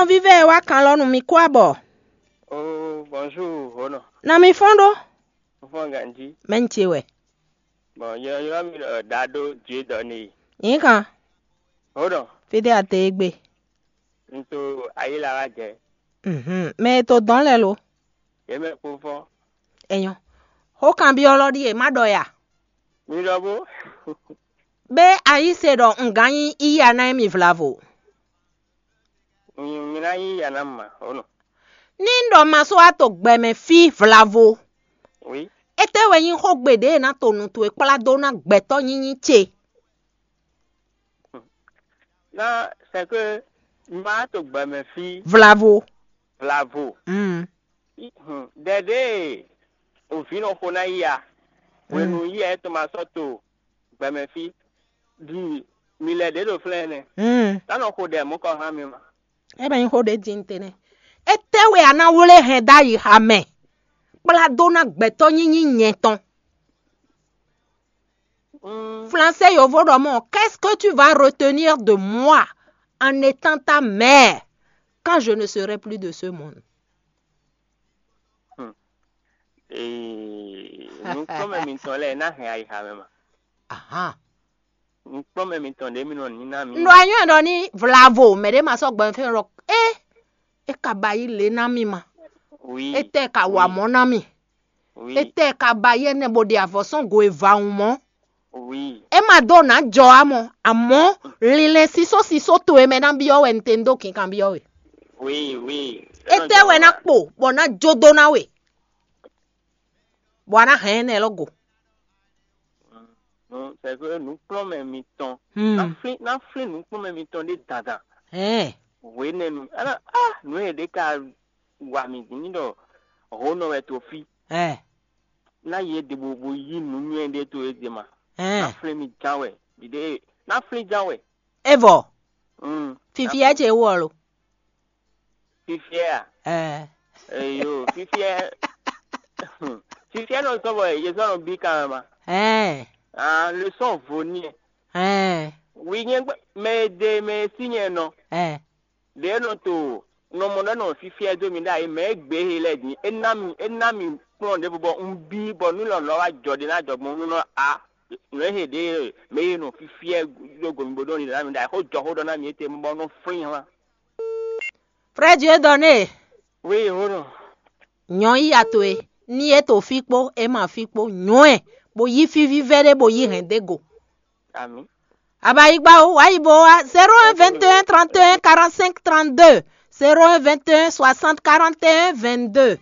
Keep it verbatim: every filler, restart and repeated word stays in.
Vívɛ e wá kan lɔ nú mi kú abɔ. Oh, bonjour, Hono. Na mi fɔ́n ɖó. Fɔ́n ganji. Mɛ n ce wɛ. Bon, ylɔ́ ylɔ́ mi ɖɔ Dado Dieudonné. Nyǐ kan. Hono. Fídé a te e gbe. Un to ayé la wá jɛ. Mhm. Mɛ e to dɔn lɛ lo. Yě mɛ kpó fɔ́n. Enyɔ. Xó kanbyɔ́ lɔ ɖíe má ɖɔ ya. Mi ɖɔ bó. Bé a yí se ɖɔ un gán nyí iya ná émi vlavo. Mi ná nyí ya ná ma, Hono. Ní un ɖɔ ma sɔ́ wá to gbɛmɛ fí vlavo. Oui. Étɛ́ wɛ nyí xógbe ɖě e ná to nu towe kplá dó ná gbɛtɔ́ nyínyí ce? Ná c'est que má to gbɛmɛ fí. Vlavo. Vlavo. Mm. Ɖɛɖe òvǐ nɔ xo ná yí a? Hwenu yí a é to ma sɔ́ to gbɛmɛ fí. Ɖi mi lɛ ɖě ɖo flɛ́n nɛ́. Mm. Ná nɔ xo ɖɛ mɔ̌ kɔ hán mi ma. É bɛ nyí xó ɖě din te nɛ́. Étɛ́ wɛ a ná wlé hɛn ɖ'ayǐ ha mɛ? Kplá dó ná gbɛtɔ́ nyínyí nyɛ tɔn. Mm. Français yovo ɖɔ mɔ, qu'est-ce que tu vas retenir de moi en étant ta mère quand je ne serai plus de ce monde? Hmm. Ee, nukpɔ́nmɛ mitɔn lɛ́ɛ ná hɛn ayixa mɛ ma. Ahan. Nukpɔ́nmɛ mitɔn ɖě mi nɔ ní ná mì. Nɔ anyɔ ɖɔ ní vlavo mɛ ɖé ma sɔ́ gbɛn fɛn ɖɔ é é ka ba yí lě ná mì ma. Oui. Étɛ́ ka wa mɔ̌ ná mì. Oui. Étɛ́ ka ba yí ɛnɛ bó ɖe avɔ̌ sɔ́n go e va wun mɔ̌. Oui. É ma dó nǎ jɔ ǎ mɔ, àmọ́ linlɛn sísó sísó towe mɛ ná byɔ́ wɛ un te un dó kinkan byɔ́ we. Oui, oui. Étɛ́ wɛ ná kpo bɔ ná jó dó ná we, bɔ a ná hɛn ɛnɛ lɔ go. Nú sɛkpé nǔkplɔ́nmɛ mitɔn. Hmm. Ná flín ná flín nǔkplɔ́nmɛ mitɔn ɖé dandan. Hɛn. Hwenɛ́nu ana ah nǔ e ɖě ka wa mì din ní ɖɔ hǒnɔ wɛ to fí. Hɛn. Ná yě ɖěbǔ bó yí nǔ nywɛ́ ɖé to é ɖe ma. Hɛn. Ná flín mi ján wɛ. Ɖiɖe ná flín ján wɛ. É vɔ. Mm. Fifia ce wɔ lo. Fifiɛ a? Ɛɛ. Eyo, fifiɛ. Fifiɛ nɔ sɔbɔ ye sɔ nɔ bi kan ma. Ɛɛ. Ah, le sɔn vo ni. Ɛɛ. Wi nyɛ gbɛ mɛ e de mɛ e si nyɛ nɔ. Ɛɛ. De nɔ to nɔ mɔ ɖɔ nɔ fifiɛ do mi ɖa yi mɛ e gbe he lɛ din. E na mi e na mi kplɔn de bɔ un bi bɔ nu lɔ lɔ wa jɔ de na jɔ gbɔn nu nɔ a. Nɔ he de mɛ e nɔ fifiɛ do gomi bo do ni ɖa mi ɖa yi xo jɔ xo ɖɔ na mi e te bɔ nɔ flin hlan. Frère Dieudonné, oui, Hono. Nyɔ yi ya towe, ní é to fí kpó, é ma fí kpó, nyɔ ɛ, bó yí fí vívɛ́ ɖé, bó yí hɛn dó go. Ami. Abayigba o, wá yi bo wá, zéro un vingt et un trente et un quarante-cinq trente-deux, zéro un vingt et un soixante quarante et un vingt-deux.